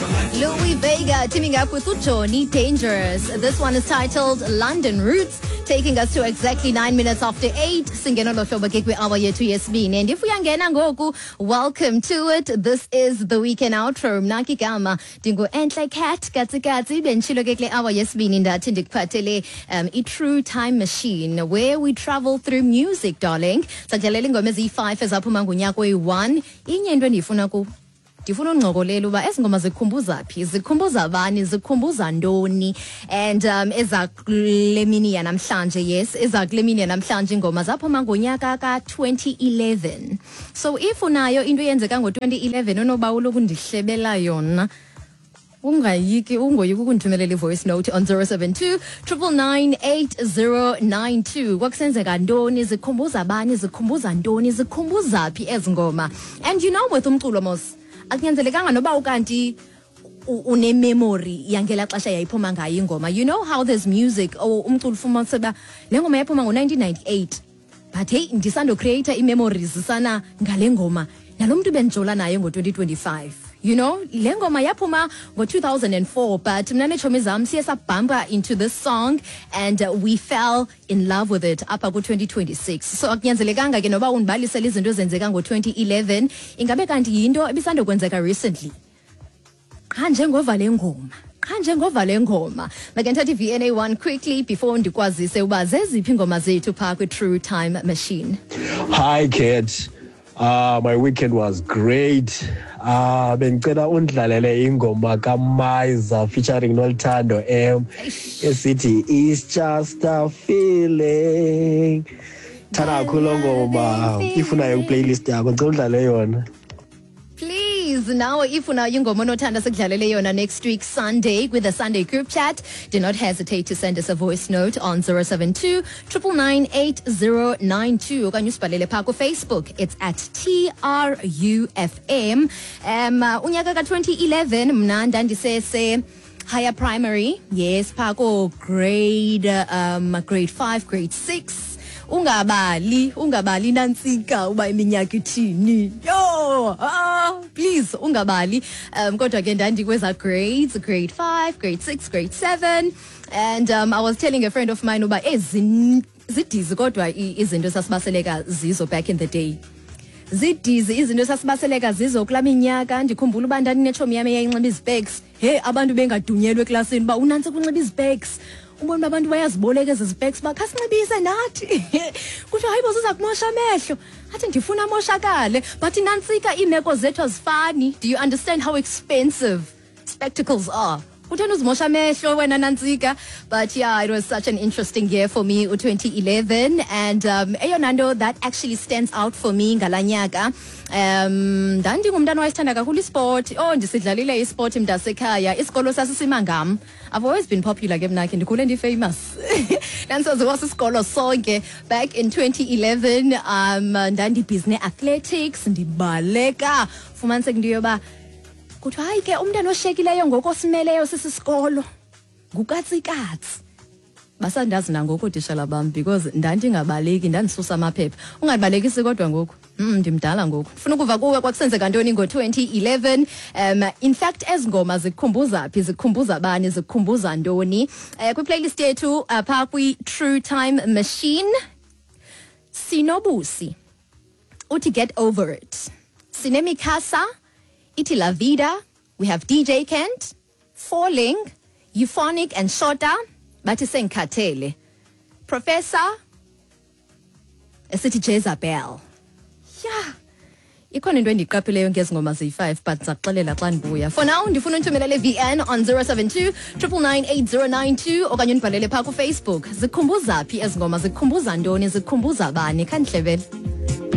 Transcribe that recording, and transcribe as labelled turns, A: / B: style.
A: Louie Vega teaming up with Johnny Dangerous. This one is titled London Roots, taking us to exactly 9 minutes after 8. Singena lo hlobo ke kwi-hour yethu yesibini. And if uyangena ngoku, welcome to it. This is the weekend outro. Mna ke igama ndingu-Entle Cat Katsikatsi. Benditshilo ke kule hour yesibini ndathi ndikuphathele i-True Time Machine where we travel through music, darling. Sakudlalela ingoma eziyi-5 ezaphuma ngonyaka oyi-1. Inye into endiyifuna kuwe. Ndifuna uncokolela uba ezi ngoma zikhumbuza phi, zikhumbuza bani, zikhumbuza ntoni. And eza kule mini yanamhlanje, yes, eza kule mini yanamhlanje ingoma zaphuma ngonyaka ka-2011. So if unayo into eyenzeka ngo-2011 onobawula ukundihlebela yona, ungayiki, ungoyiki ukundithumelela i-voice note on 072 999 8092. Kwakusenzeka ntoni, zikhumbuza bani, zikhumbuza ntoni, zikhumbuza phi ezi ngoma? And you know, with umculo mos akunyanzelekanga noba ukanti une-memory yangela xesha yayiphuma ngayo ingoma. You know how there's music or umculo ufumanise uba le ngoma yaphuma ngo-1998, but hey, ndisando-create ii-memories sana ngale ngoma nalo mntu bendijola naye ngo-2025. You know, le ngoma yaphuma ngo-2004, but mna neetshomi zam siye sabhampa into this song and we fell in love with it apha ku-2026. So akunyanzelekanga ke noba undibalisele izinto ezenzeka ngo-2011, ingabe kanti yinto ebisandokwenzeka recently. Qha njengova le ngoma, qha njengova le ngoma. Make ndithathe i-VNA 1 quickly before ndikwazise uba zeziphi iingoma zethu phaa kwi-True Time Machine.
B: Hi Cat. My weekend was great. Bengicela undlalele ingoma kaMaiza featuring Noluthando M esithi "It's Just a Feeling". Thanda kakhulu loo ngoma. If unayo playlist yakho, ngicela udlale yona.
A: Please, nawe if unayo ingoma onothanda sikudlalele yona next week Sunday with the Sunday group chat, do not hesitate to send us a voice note on 072 999 8092 okanye usibhalele phaa kuFacebook. It's at TRUFM. Unyaka ka-2011 mna ndandisese higher primary, yes, phaa ko grade 5, grade 6. Ungabali, ungabali nantsika uba iminyaka ithini. Yo, ah, please ungabali. Kodwa ke ndandikweza grades, grade 5, grade 6, grade 7, and I was telling a friend of mine uba zidizi kodwa izinto esasibaseleka zizo back in the day. Zidizi izinto esasibaseleka zizo kulaa minyaka. Ndikhumbula uba ndandinetshomi yam eyayinxiba izipeks. He, abantu bengadunyelwa eklasini uba unantsi kunxiba izipeks. Ubona uba abantu bayaziboleka ezi zipeks, uba khasinxibise nathi. Kuthiwa hayi bo, ziza kumosha amehlo. Athi ndifuna amoshakale. But nantsika, iimeko zethu azifani. Do you understand how expensive spectacles are? Utheni uzimosha amehlo wena nantsika? But yeah, it was such an interesting year for me, u-2011, and eyona nto that actually stands out for me ngalaa nyaka, ndandingumntana owayesithanda kakhulu isport. Oh, ndisidlalile isport mntasekhaya. Isikolo sasisima ngam. I've always been popular ke mna ke, ndikhule ndi-famous, ndandisaziwa sisikolo sonke back in 2011. Ndandibhizi ne-athletics, ndibaleka, fumaniseka into yoba kuthiwa hayi ke, umntana oshekileyo ngokosimeleyo sisisikolo ngukatsikatsi. Basandazi nangoku ootishala bam because ndandingabaleki, ndandisusa amaphepha. Ungandibalekisi kodwa ngoku, ndimdala ngoku. Ndifuna ukuva kuwe, kwakusenzeka ntoni ngo-2011? In fact, ezi ngoma zikukhumbuza phi, zikukhumbuza bani, zikukhumbuza ntoni? Kwi-playlist yethu phaa kwi-True Time Machine, sinobusi uthi "Get Over It", sinemikasa ithi "La Vida", we have DJ Kent, "Falling", Euphonic and Shota bathi "Sengikhathele", Professor esithi "Jezebel". Yeah, ikhona into endiyiqapheleyo ngezi ngoma ziyi-5, but ndizakuxelela xa ndibuya. For now ndifuna unthumelela i-VN on 072 999 8092 okanye undibhalele phaa kuFacebook. Zikhumbuza phi ezi ngoma, zikhumbuza ntoni, zikhumbuza bani? Khandihlebele.